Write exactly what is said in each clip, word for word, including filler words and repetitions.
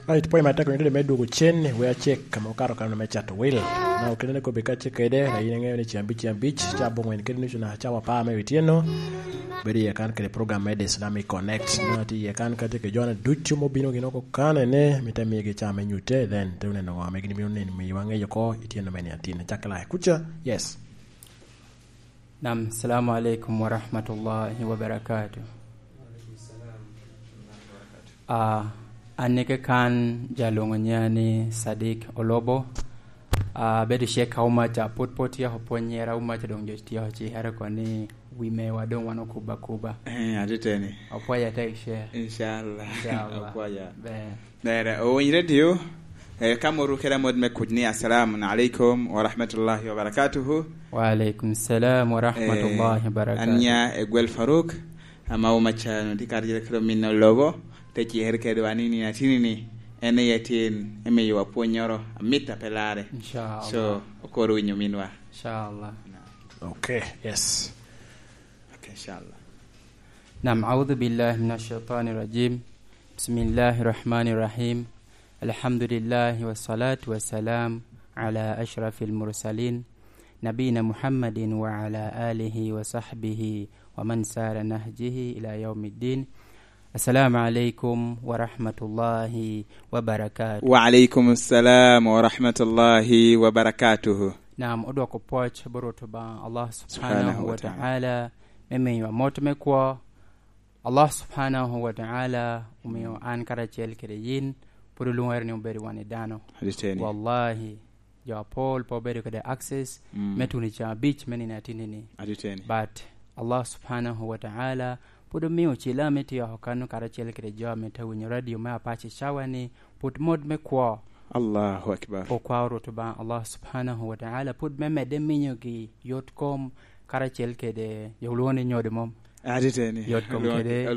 Right, pwony matek onyo kede me dwogo cen, we acek ame okato kano me cato wil. Na okene ni kobi ka ce kede, na in iŋeo ni cen abic, cen abic, ca abongwen kede nucu naka ca apar me otyeno, bedo iye kan kede program me The Islamic Connect. Na tye iye kan ka tye kede jo na ducu ma obino gin oko kan ene, mite migi ca me nyutte, then te oneno ŋo ame gin bino neno miyo aŋeyo oko ityeno me niatin. Cakki lake kuca, yes. Nam, salamu alaikum wa rahmatullahi wa barakatuh. Ah, an nike kan ja lwoŋo nya ni Sadik Olobo. Ah, abedo cek ka Umaca, put put tyeko pwonnyere, Umaca doŋ jo tyeko ci, ero kono ni wi mewa doŋ wan okuba kuba. Eh, atiteni. Apwoyo atek, Sheikh. Inshallah. Inshallah. Apwoyo. Ber. Ber, owiny radio, eh, ka moru kede amot me kuc ni, "Assalamu alaikum wa rahmatullahi wa barakatuhu." Wa alaikum salam wa rahmatullahi wa barakatuhu. Eh, an nya Egwel Faruk, ama Umaca no tye kare kede min Olobo, te cikere kede wa ni, ni atini ni, en aye tin, emiyo wa pwonnyoro, amit a pe larre. Inshallah. So, okoro winyo minwa. Inshallah. Okay, yes. Okay, inshallah. Nam, a'udhu billahi minash shaitani rajim. Bismillahir rahmanir rahim. Alhamdulillah wassalatu wassalam ala ashrafil mursalin, nabiyina Muhammadin wa ala alihi wa sahbihi wa man sara nahjihi ila yaumiddin. Assalamu alaikum wa rahmatullahi wa barakatuh. Wa alaikum assalam wa rahmatullahi wa barakatuh. Nam, odwoko pwoc bot Rwot Obaŋa Allah subhanahu wa ta'ala, me miyowa mot me kwo. Allah subhanahu wa ta'ala omio an karacel kede yin, pwod olwoŋere ni obedo wan i dano. Wallahi, jo apol pe obedo kede access me tuno i ca abic me nino atini-ni. But Allah subhanahu wa ta'ala pwod omio ocila me tye oko kano karacel kede jo ame te winyo radio me Apache Cawa-ni, pwod mot me kwo. Allahu Akbar. Okwao Rwot Obaŋa Allah subhanahu wa ta'ala pwod me medde minyogi yot kom karacel kede jo olwoŋo ni nyodo mom. Atiteni. Yot kom kede,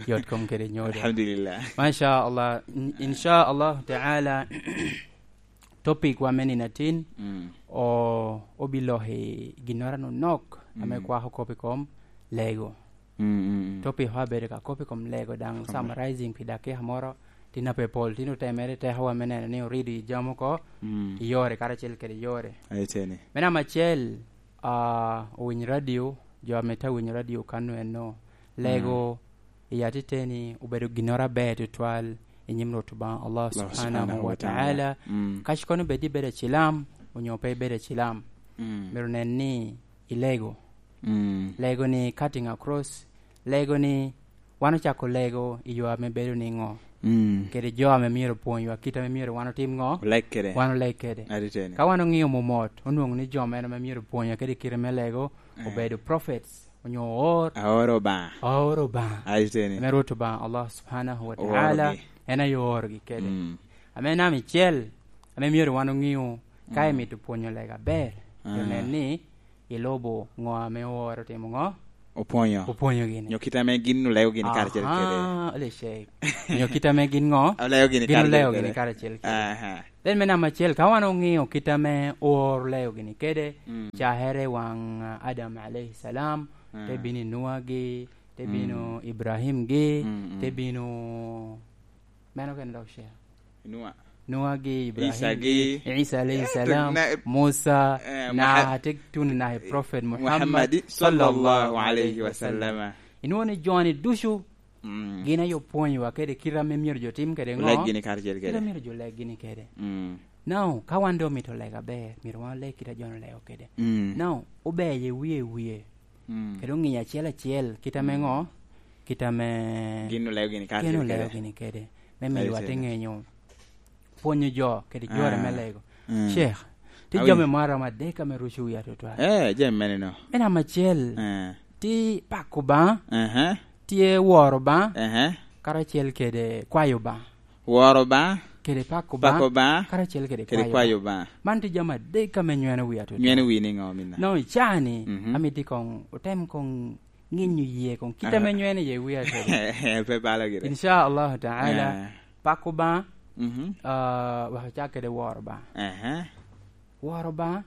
yot kom kede nyodo. Alhamdulillah. Masha Allah. In-, insha Allah ta'ala, topic wa me nino atin, o-, obiloko i ginnoro anonok ame kwako kop i kom lego. Topic wa bedo ka kop i kom lego, daŋ summarizing pi dakika moro, tin ape pol, tin otemere tekowa me neno ni orido i jami oko, i yore karacel kede yore. Atiteni. Me namba acel, ah, owiny radio, jo ame te winyo radio kano enno. Lego i atiteni obedo ginnoro aber tutwal i nyim Rwot Obaŋa Allah subhanahu wa ta'ala. Ka ci kono bed ibedo acilam, onyo pe ibedo acilam, myero nen ni ilego. Lego ni cutting across, lego ni wan ocako lego i yo ame bedo ni ŋo? Kede jo ame myero opwonywa kit ame myero wan otim ŋo? Oleg kede. Wan oleg kede. Atiteni. Ka wan oŋio momot, onwoŋo ni jo mene ame myero opwonywa kede kite me lego, obedo prophets, onyo oor. Aoro Obaŋa. Aoro Obaŋa. Atiteni. Ame Rwot Obaŋa Allah subhanahu wa ta'ala, en aye oorogi kede. Ame namba acel, ame myero wan oŋio, ka imito pwonyo lego aber, myero nen ni ilubo ŋo ame ooro timo ŋo? Opwonyo. Opwonyo gini. Nyo kit ame gin olego gini karacel kede. Aha, ole cek. Nyo kit ame gin ŋo? Olego gini karacel kede. Gin olego gini karacel kede. Aha. Then me namba acel, ka wan oŋio kit ame ooro lego gini kede, cakere waŋ, ah, Adam alaihi salam, te bino i Nuwa gi, te bino Ibrahim gi, te bino meno kene dok cek. Nuwa. Nuwa gi, Ibrahim gi, Isa alaihi salam, Musa, eh, na te tuno naka i Prophet Muhammad sallallahu alaihi wasallam. Inwoŋo ni jo-ni ducu gin aye opwonyowa kede kite ame myero jo tim kede ŋo? Oleg gini karacel kede. Kite ame myero jo oleg gini kede. Now, ka wan doŋ omito lego aber, myero wan oleg kit a jo-ni olego kede. Now, ober i wie i wie. Kede oŋiyo acel acel, kit ame ŋo? Kit ame gin olego gini karacel kede. Gin olego gini kede. Me miyo wa te ŋenyo pwonyo jo kede jore me lego. Sheikh, tye jami mo aromo adek ame ruco wia tutwal. Eh, jami mene no? Me namba acel, tye pako Obaŋa, tye woro Obaŋa, karacel kede kwayo Obaŋa. Woro Obaŋa, kede pako Obaŋa, pako Obaŋa, karacel kede kwayo Obaŋa. Man tye jami adek ame nyweno wia tutwal. Nyweno wii ni ŋo, mina? Now, i caa-ni, amito koŋ otem koŋ ŋinyo yie koŋ kit ame nyweno iye wia kede. Pe balo gire. Insha Allah ta'ala, pako Obaŋa, ah, wek ocak kede woro Obaŋa. Woro Obaŋa,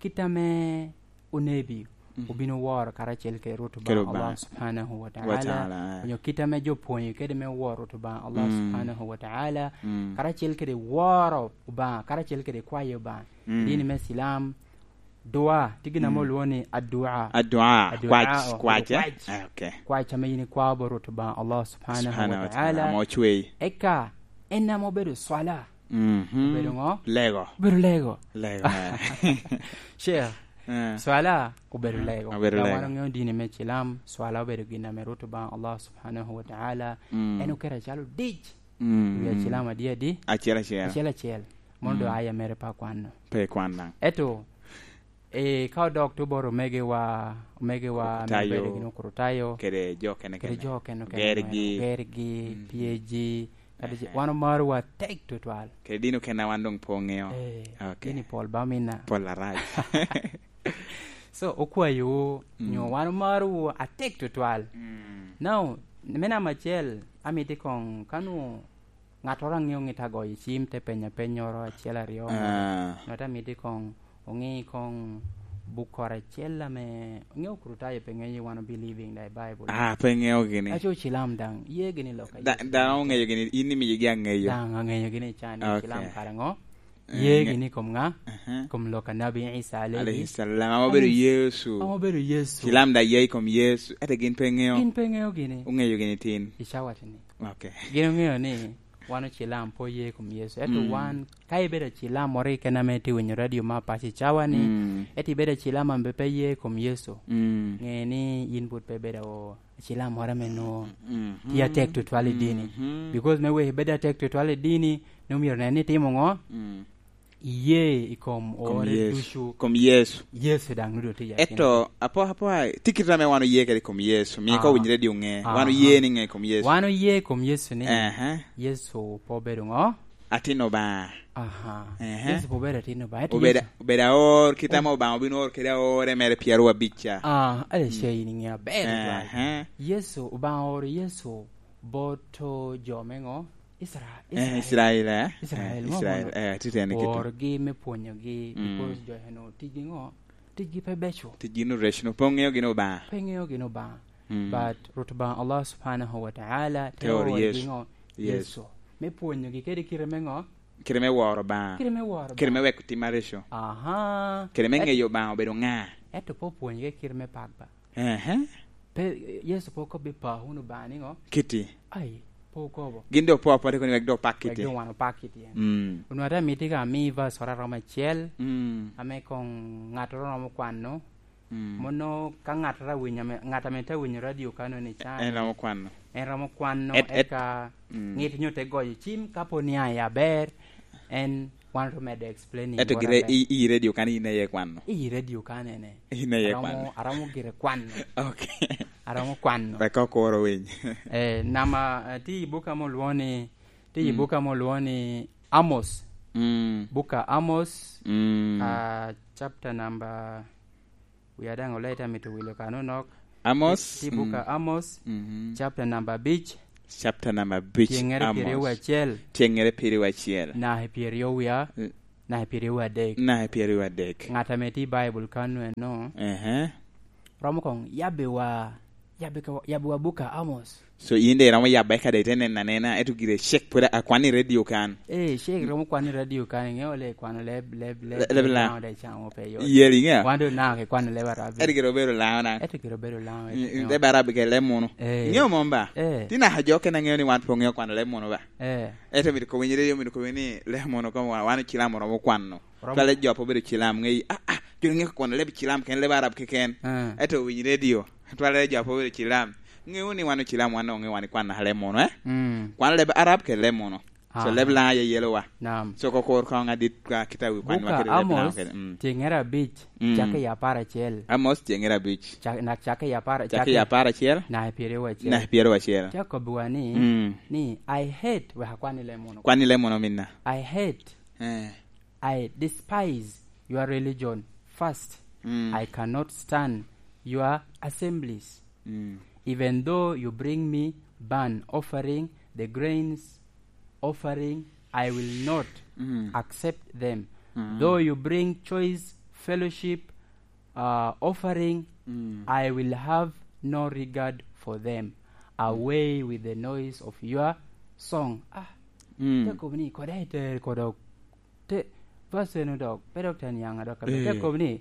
kit ame onebi Mhm. Obino woro karacel kede Rwot Obaŋa Allah Subhanahu wa Ta'ala, eh. Onyo kit ame jo pwonyo kede me woro Rwot Obaŋa Allah Subhanahu wa Ta'ala, karacel kede woro Obaŋa, karacel kede kwayo Obaŋa. Dini me Silam, dua, tye gin ame olwoŋo ni adua. Adua, kwac, kwac, eh? Kwac. Eh, okay. Kwac ame yin ikwao bot Rwot Obaŋa Allah Subhanahu wa Ta'ala. Ame ocwei. Eka, en ame obedo cwala. Mhm. Obedo ŋo? Lego. Obedo lego. Lego, eh. Sheikh, eh, cwala obedo lego. Obedo lego. Wan oŋeo dini me Cilam, cwala obedo gin ame Rwot Obaŋa Allah Subhanahu wa Ta'ala, en oketo acalo dic. Mm. Wi acilam adi adi? Acel acel. Acel acel. Mono doŋ aya mere pe akwano. Pe ikwan daŋ. Eto, eh, ka odok to bot omegiwa, omegiwa ame obedo gin Okrutayo, kede jo kene kede kene. Jo kene kene, Gergi. Gergi, P A G, kadi ce-, wan omarowa tek tutwal. Kede dino kena wan doŋ pe oŋeo. Eh, okay. Dini pol ba mina. Pol arac. So, okwayowu, nyo wan omarowu atek tutwal. Mm. Now, me namba acel, amito koŋ, ka nwo ŋattoro aŋeo ŋit agoyo cim, te penya pennyoro acel aryo, ah, ŋat amito koŋ oŋi koŋ buk koro acel ame oŋeo Okrutayo pe ŋeyo, wan o believing the Bible. Ah, pe ŋeo gini. Aco Cilam daŋ, ye gini lok a da-, Yecu daŋ oŋeyo gini, in imigi aŋeyo. Daŋ aŋeyo gini can, okay. Cilam kare ŋo? Eh, ye gini kom ŋa? Aha. Kom lok a Nabi Isa alayhi salam, ame obedo Yecu. Ame obedo Yecu. Cilam da ye i kom Yecu, ete gin pe ŋeo. Gin pe ŋeo gini. Oŋeyo gini tin. I cawatini. Okay. Gin oŋeo ni wan ocilam pe oye i kom Yecu. Ento wan, ka ibedo acilam moro keken ame itye winyo radio me Apac i cawani, ento ibedo acilam ame pe ye i kom Yecu, ŋe ni yin pwod pe ibedo acilam moro ame nwo tye atek tutwal i dini. Because me wek ibed atek tutwal i dini, nwoŋo myero nen ni itimo ŋo? Iye i kom ore ducu. Kom Yecu. Yecu daŋ nwoŋo tye i akinawa. Eto, apo-, apo-, tye kite ame wan oye kede i kom Yecu. Miyo ka owinyo radio ŋe. Wan oye ni ŋe i kom Yecu. Wan oye i kom Yecu ni Yecu pe obedo ŋo? Atin Obaŋa. Aha. Ehe. Yecu pe obedo atin Obaŋa. Ento obedo, Yecu obedo aor, kit ame Obaŋa obino oro kede aore mere pyeraryo abic ca. Ah, ale ce in iŋeo aber tutwal. Ehe. Yecu, Obaŋa ooro Yecu bot jo me ŋo? Isra-, eh, Israel. Israel, eh? Israel, eh, ŋo Israel, mono? Eh, atye tyen i kite. Orogi me pwonyogi, because jo heno tijgi ŋo? Tijgi pe beco. Tijgi nu reco, nu pe ŋeo gin Obaŋa. Pe ŋeo gin Obaŋa. But Rwot Obaŋa Allah Subhanahu wa Ta'ala te oro orogi Yecu. Ŋo? Yecu. Yecu. Me pwonyogi kede kite me ŋo? Kite me woro Obaŋa. Kite me woro Obaŋa. Kite me weko tim areco. Aha. Kite me ŋeyo Obaŋa obedo ŋa. Ento pe opwonyogi kite me pak ba. Ehe. Pe, Yecu pe okobbi pa wunu ba ni ŋo? Kiti. Ai, pe okobo. Gin doŋ pe opwod kono wek doŋ opak kiti. Wek doŋ wan opak kiti en. Mm. Onwoŋo ate amito ka ami verse oro aromo acel, mm, ame koŋ ŋattoro romo kwano. Mm. Mono ka ŋattoro awinyo ame, ŋat ame te winyo radio kano ni can. En romo kwano. En romo kwano, et, et, eka mm, ŋit nyo te goyo cim, ka po ni aye aber, en wan otye medo explaining. Ento what gire about i, i radio kan in aye kwano? I radio kan ene. In aye kwano? Aromo, aromo gire kwano. Okay. Aromo kwano. Wek ka okuro winy. Eh, nama, eh, tye i buk ame olwoŋo ni, tye i buk ame olwoŋo ni Amos. Mm. Buk a Amos, mm, ah, chapter number Wia daŋ olete amito wilo kano nok. Amos, ti-, ti buk a mm, Amos, mhm, chapter number abic. Chapter number abic, Amos. Tyengere pyeraryo acel. Tyengere pyeraryo acel. Naka pyeraryo wia, l-, naka pyeraryo adek. Naka pyeraryo adek. Ŋat ame tye i Baibul kano eno, ehe, romo koŋ yabbiwa, yabbi ka-, yabbiwa buk a Amos. So, in daŋ iromo yabba eka daŋ ite neno anena, ento gire cek pwod akwan i radio kan. Eh, cek romo kwan i radio kan, iŋeo le kwano leb, leb, leb, leb, leb Laŋo daŋ can pe yot. Yel iŋeo? Wan doŋ naka kikwano leb Arabi. Ento gire obedo Laŋo daŋ. Ento gire obedo Laŋo, mm, ento leb Arabi kede leb munu. Eh. Iŋeo mom ba? Eh. Tye naka jo kene aŋeo ni wan pe oŋeo kwano leb munu ba? Eh. Ento mito kowinyo radio, mito kowinyo ni leb munu komo wa, wan ocilam oromo kwano. Oromo. Twale jo pe obedo cilam, ŋeyi, ah, ah, jo ŋeo kwano leb cilam keken, leb Arab keken. Ah. Ento owinyo radio. Twalere jo a pe obedo cilam. Ŋeo ni wan ocilam, wan oŋeo wan ikwan naka leb munu, eh? Mm. Kwan leb Arab kede leb munu. So, aha, leb Laŋo aye yelowa. Naam. So, kokur koŋ adit ka kite a wi kwan wa kede leb Laŋo kede. Buk a Amos, mm, tyengere abic, mm, cakki i apar acel. Amos tyengere abic. Ca-, nak cakki i apar, cakki i apar acel. Naka pyeraryo acel. Naka pyeraryo acel. Te kobbiwa ni, mm, ni, "I hate," wek akwan i leb munu. Kwan i leb munu, minna. "I hate." Eh. "I despise your religion. First, mm, I cannot stand your assemblies. Mm. Even though you bring me burnt offering, the grains offering, I will not, mm, accept them. Mm. Though you bring choice fellowship uh, offering, I will have no regard for them. Away with the noise of your song. Ah, te kobo ni, kodi iter kodok. Te, verse eno dok, pe dok te niaŋ a dok, te kobo ni,